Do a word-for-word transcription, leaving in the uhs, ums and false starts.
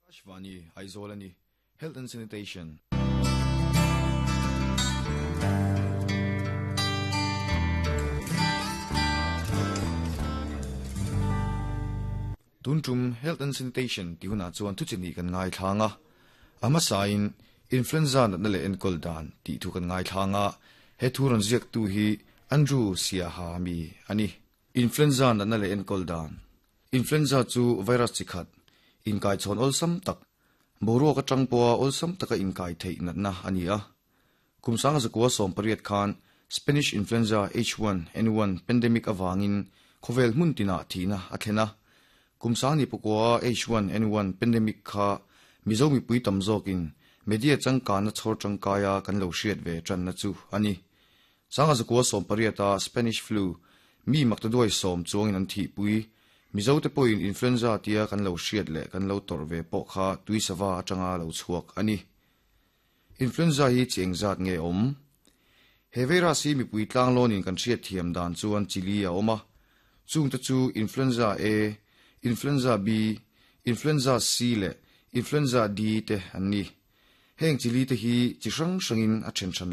Akashvani Aizawl a ni. Health and Sanitation. Tun tum Health and Sanitation tih hunah chuan thuchini kan ngaithlang a. A hmasain Influenza natna leh enkawl dan tih thu kan ngaithlang a. He thu rawn ziaktu hi Andrew Siaha mi a ni. Influenza natna leh enkawl dan. Influenza chu virus chi khat, inkaichhawn awlsam tak, boruak atang pawha awlsam taka inkai theih natna a ni a. Kum sanga zakua sawm pariat khan Spanish influenza H one N one pandemic avangin khawvel hmun tinah thihna a thlen a. Kum sang ni pakua H one N one pandemic kha Mizo mipui tam zawkin media changkanna chhawr tangkaia kan lo hriat ve tanna chu a ni. Sanga zakua sawm pariata Spanish flu mi maktaduai sawm chuangin an thihpui Mizo te pawhin influenza tia kan lo hriat leh kan lo tawrh ve pawh kha tuisava atanga lo chhuak a ni. Influenza hi chi engzat nge awm? He virus hi mipui tlang lawnin kan hriat thiam dan chuan chili a awm a. Chungte chu influenza A, influenza B, influenza C leh influenza D te an ni. Heng chili te hi chi hrang hrangin a then hran